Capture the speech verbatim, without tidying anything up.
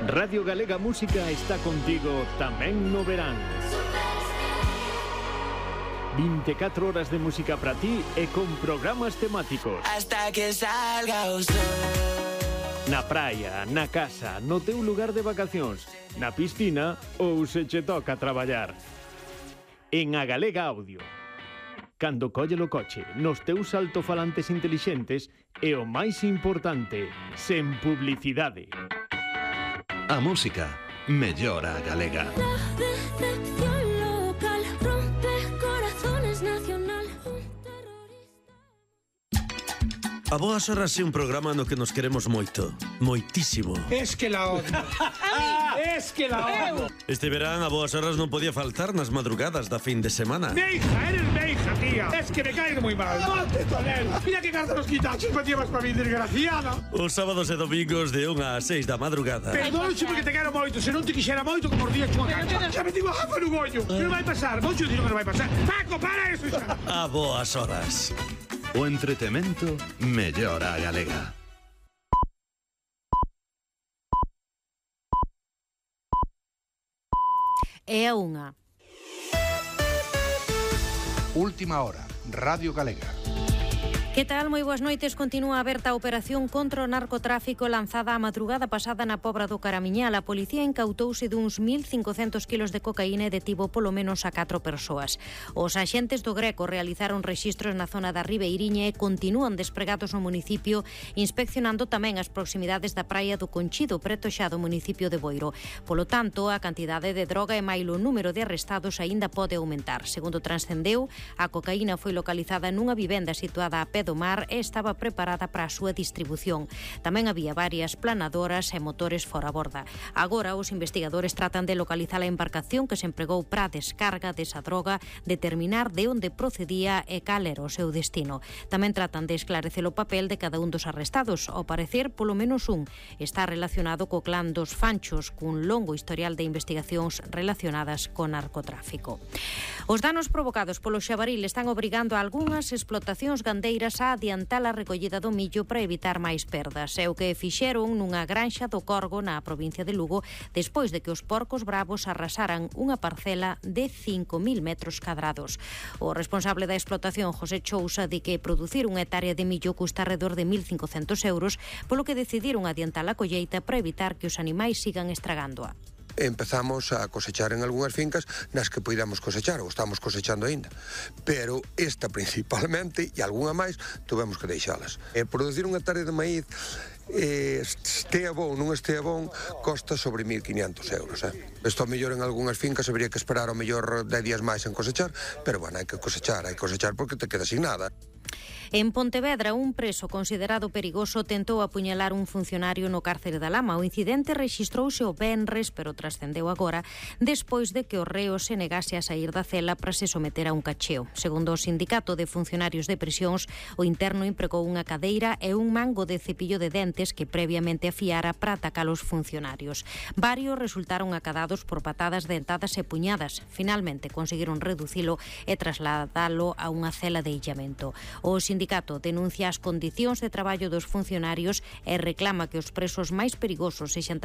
Radio Galega Música está contigo tamén no verán. vinte e catro horas de música para ti e con programas temáticos. Hasta que salga o sol. Na praia, na casa, no teu lugar de vacacións, na piscina ou se che toca traballar. En A Galega Audio. Cando colle o coche, nos teus altofalantes intelixentes e o máis importante, sen publicidade. A música mellora a galega. A Boas Horas é un programa no que nos queremos moito, moitísimo. Es que la odio. Es que la odio. Este verán a Boas Horas non podía faltar nas madrugadas da fin de semana. Mi hija, eres mi hija, tía. Es que me caes muy mal. ¡Monte, Tonel! Mira que carta los quitachos me llevas para mi desgraciada. Os sábados e domingos de unha a seis da madrugada. Perdón, porque te quero moito. Se non te quixera moito, como os días chunga cancha. Xa me digo a jafa no goño. Que non vai pasar. Moito dixo que non vai pasar. Paco, para eso xa. A Boas Horas. O entretemento mellora a galega. É a unha. Última hora, Radio Galega. Que tal? Moi boas noites. Continúa aberta a operación contra o narcotráfico lanzada a madrugada pasada na Pobra do Caramiñal. A policía incautouse duns mil cincocentos kilos de cocaína e detivo polo menos a catro persoas. Os axentes do Greco realizaron rexistros na zona da Ribeiriña e continúan despregados no municipio, inspeccionando tamén as proximidades da praia do Conchido, preto xa do municipio de Boiro. Polo tanto, a cantidade de droga e mailo o número de arrestados aínda pode aumentar. Segundo transcendeu, a cocaína foi localizada nunha vivenda situada a pé do mar e estaba preparada para a súa distribución. Tamén había varias planadoras e motores fora a borda. Agora os investigadores tratan de localizar a embarcación que se empregou para a descarga desa droga, determinar de onde procedía e cal era o seu destino. Tamén tratan de esclarecer o papel de cada un dos arrestados. Ao parecer, polo menos un está relacionado co clan dos Fanchos, cun longo historial de investigacións relacionadas con narcotráfico. Os danos provocados polo xabaril están obrigando a algunhas explotacións gandeiras a adiantar a recollida do millo para evitar máis perdas. É o que fixeron nunha granxa do Corgo na provincia de Lugo despois de que os porcos bravos arrasaran unha parcela de cinco mil metros cadrados. O responsable da explotación, José Chousa, di que producir unha hectárea de millo custa alrededor de mil cincocentos euros, polo que decidiron adiantar a colleita para evitar que os animais sigan estragándoa. Empezamos a cosechar en algunhas fincas nas que poidamos cosechar, ou estamos cosechando aínda, pero esta principalmente e algunha máis tuvemos que deixalas. E producir unha hectárea de maíz eh, estea bon, non estea bon, costa sobre mil quinientos euros. Eh? Isto mellor en algunhas fincas habería que esperar ao mellor dez días máis en cosechar, pero bueno, hai que cosechar, hai que cosechar porque te queda sin nada. En Pontevedra, un preso considerado perigoso tentou apuñalar un funcionario no cárcere da Lama. O incidente rexistrouse o venres, pero trascendeu agora, despois de que o reo se negase a sair da cela para se someter a un cacheo. Segundo o Sindicato de Funcionarios de Prisións, o interno empregou unha cadeira e un mango de cepillo de dentes que previamente afiara para atacar os funcionarios. Varios resultaron acadados por patadas, dentadas e puñadas. Finalmente conseguiron reducilo e trasladalo a unha cela de illamento. O sindicato denuncia as condicións de traballo dos funcionarios e reclama que os presos máis perigosos sexan